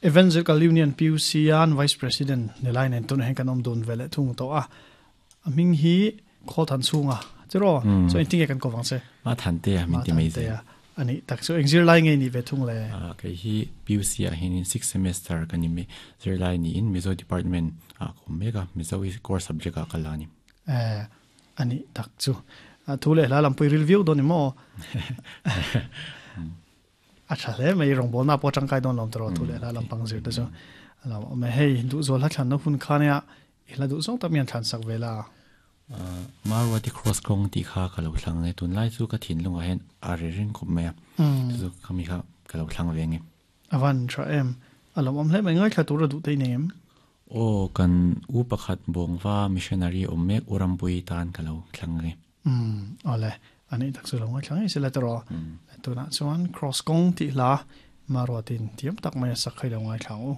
Evangelical Union PUC an Vice President ni lai nen tunah hian kan awm dun ve leh thung tawh a. A hming hi Khawlthan chhunga cheraw chuan engtin nge kan ko vang che? Ma Thante a min ti mai zel. A nih tak chu eng zirlai nge ni ve thung le? Kei hi PUC ah hianin sixth semester ka ni mai. Zirlai niin Mizo department ah ka awm mek a, Mizo hi core subject ah ka la a ni. Eh, a nih tak chu. Thu leh hla lampui ril viau dawn ni maw? A tha hle mai, rawngbawlna pawh tangkai dawn lo tawh thu leh hla lampang zir te chu. A lo awm e, hei duhzawl hla thlanna hun kha nia i hla duh zawng tak mi han thlan sak ve la. Marwati cross kawng tih kha ka lo thlang e, tunlai chu ka thinlungah hian a ri ring khawp mai a, chu chu khami kha ka lo thlang ve ang e. A van tha em, a lo awm hle mai, ngaithla tur a duh te i nei em? Aw, kan u pakhat Bawngva missionary awm mek U Rampui tan ka lo thlang ang e. Umm, awle, a nih tak chu lo ngaithla ngei sela tawh rawh. Tunah chuan Cross kawng tih hla Maruatin thiam tak mai a sak kha i lo ngaithla ang u.